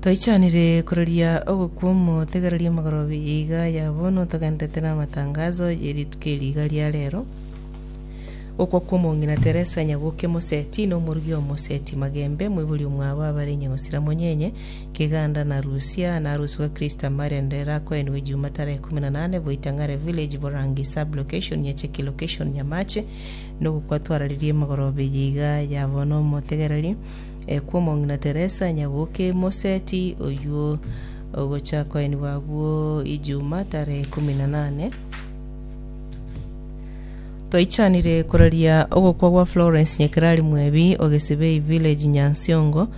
Toichanire koraria ogokwa omotegereria omogoroba eye iga ya bono togenderete namatangazo ye rituko eri iga ria rero. Gokwa kw'omong'ina Teresa Nyaboke Moseti na omorugi o Moseti Magembe, moibori omwabo abare Nyagosira Monyenye, Keganda na Rusia, na arusigwe Christa Marian rero akoenigwe Juma tarehe 18 Boitang'are Village Borangi Sub Location Nyacheki Location Nyamache nogokwa twararirie emegoroba eye iga ya bono omotegereri kw'omong'ina Teresa Nyaboke Moseti oywo ogocha koenigwa agwo Ijuma tarehe 18. Twaichanire koraria ogokwa gwa Florence Nyekerari Mwebi o Gesibei Village Nyansiongo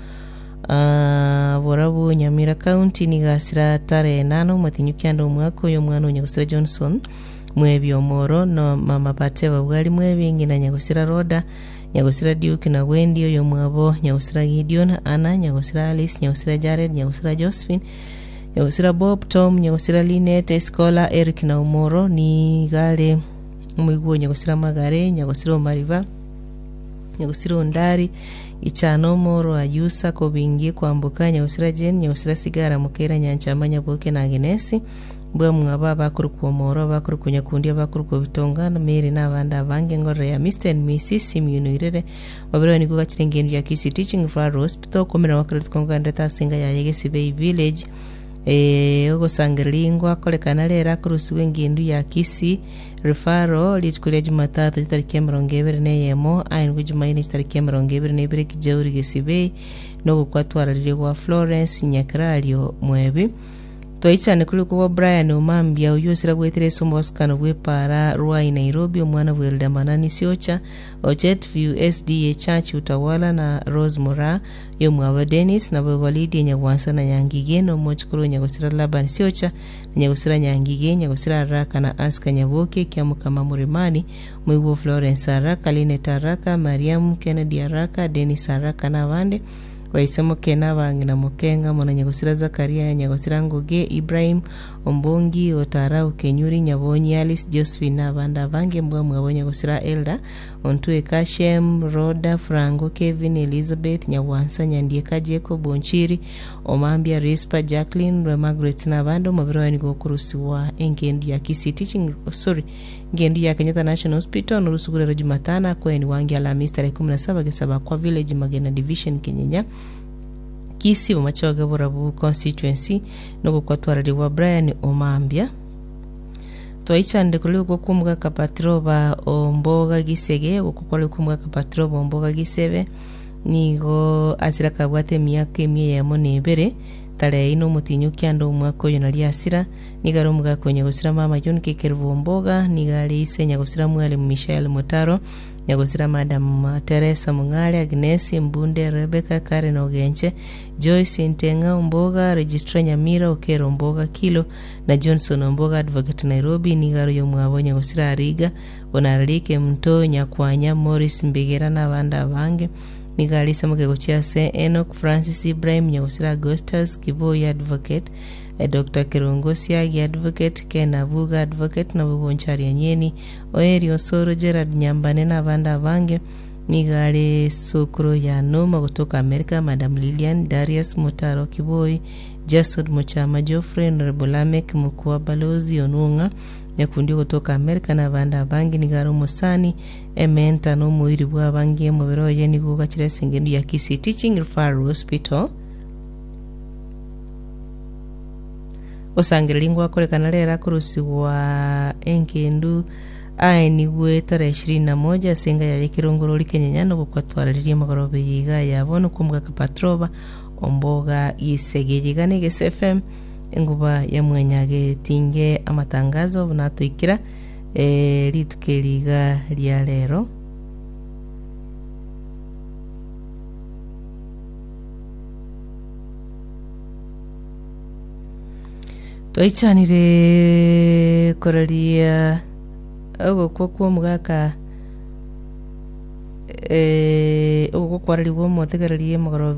ah, Borabu Nyamira County nigo asira tarehe nane omotinyu kianda omwaka oyo omwana o Nyagosira Johnson Mwebi Omoro no mama Bateba Bwari Mwebi ng'ina Nyagosira Rhoda Nyagosira Duke na Wendy oyomwabo Nyagosira Gideon Anna Nyagosira Alice Nyagosira Jared Nyagosira Josephine Nyagosira Bob, Tom, Nyagosira Linet, Escola, Eric na Omoro, nigo are omoigwa o Nyagosira Magare, Nyagosira Omariba, Nyagosira Ondari, Gichana Omoro, Ayusa, Kobingi, Kwamboka, Nyagosira Jane, Nyagosira Sigara, Mokeira, Nyanchama, Nyaboke na Agenesi, Mbwamwabo abakorokwa Omoro, abakorokwa Nyakundi, abakorokwa Bitonga, na Mary na abande abange, engorero ya Mr and Mrs Simeon Oirere, Babere nigo gachire engendu ya Kisii Teaching Referral Hospital, okoumera gwakare rituko nkogenderete ase enga yaye Gesibei Village. Eh, ogosangereria ngoakorekana rero akorusigwa engendu ya Kisii Referral rituko ria Jumatatu chitariki 21 aenigwe Jumaine chitariki 22 Kijauri Gesibei nogokwa twararirie gwa Florence Nyakerario Mwebi. Twaichane korikwa gwa Brian Omambia oyio osiragwetire ase omobasukano bw'epaara Ruai Nairobi omwana bw'Elder Manani Siocha Ochetview SDA Church Utawala na Rose Moraa, oyomwabo Dennis, naboigo Lydia Nyagwansa na Nyangige, na omochokoro o Nyagosira Laban Siocha, na Nyagosira Nyangige, Nyagosira Araka na Aska Nyaboke, Kiamokama Murimani, omoigwa o Florence Araka, Linet Araka, Mariamu, Kennedy Araka, Dennis Araka na abande, Baise moke na abang'ina moke, ng'amo na Nyagosira Zakaria, Nyagosira Ngugi, Ibrahim, Ombongi, Otarau, Kenyuri, Nyabonyi, Alice, Josephine, na abande abange mbwamwabo Nyagosira Elda, Ontweka, Shem, Rhoda, Frango, Kevin, Elizabeth, Nyagwansa, Nyandieka, Jacob, Onchiri, Omambia, Rispa, Jacqueline, Rwe Margaret na abande omobere oye nigo okorusigwa engendu ya Kisii Teaching sorry engendu ya Kenyatta National Hospital norusuku rero Jumatano akoenigwa ange Alhamisi tarehe 17 Gesabakwa Village Magena Division Kenyenya Kisii Bomachoge Borabu Constituency Nogokwa-twarari gwa Brian Omambia. Twaichanire korwa rigokwa kw'omogaka Patroba o Mboga Gisege, ogokwa kware kw'omogaka Patroba o Mboga Gisebe, nigo asira kabwate emiaka emia eyemo na ebere, tarehe ine omotienyi o kianda omwaka oyo nario asira, nigo are omogaka o nyagosira mama John Kekerubo Omboga, nigo are ise nyagosira Mwalimu Michael Mutaro, nyagosira Madam Teresa Mung'are, Agnes, Mbunde, Rebecca, Karen Ogenche, Joyce Nteng'a Omboga, Registrar Nyamira, Okero Omboga Kilo, na Johnson Omboga Advocate Nairobi, nigo are oyomwabo Nyagosira Ariga, Bonararike Mto, Nyakwanya, Maurice Mbigera na abande abange. Nigo are isamoke gochia ase Enock Francis Ibrahim, Nyagosira Augustus, Kiboi Advocate, Doctor Kerongo Siagi Advocate, Ken Abuga Advocate, na Bogonchari Anyeni, Oeri Osoro, Gerald Nyambane na abande abange. Nigo are sokoro ya Noma gotoka Amerika, Madam Lilian, Darius Motaro Kiboi, Jason Mochama Geoffrey, Honorable Lameck Mokua Balozi Onwong'a, Nyakundi ogotoka Amerika na abande abange. Nigo are omosani, ementa na omoiri bw'abange. Omobere oye nigo ogachire ase engendu ya Kisii Teaching Referral Hospital. Gosangereria ngwakorekana rero akorusigwa engendu Aenigwe tarehe ishirini na moja ase enga yaye ekerongorori kenyenya nogokwa-twararirie amagoroba eye iga ya bono kw'omogaka Patroba omboga gisege eye iga ne Egese FM enguba ya mwanyagetinge amatangazo buna atoikera eh, rituko eri iga ria rero. Twaichanire koraria ogokwa kw'omogaka eh, ogokwa kwararigwe omotegereri omogoroba.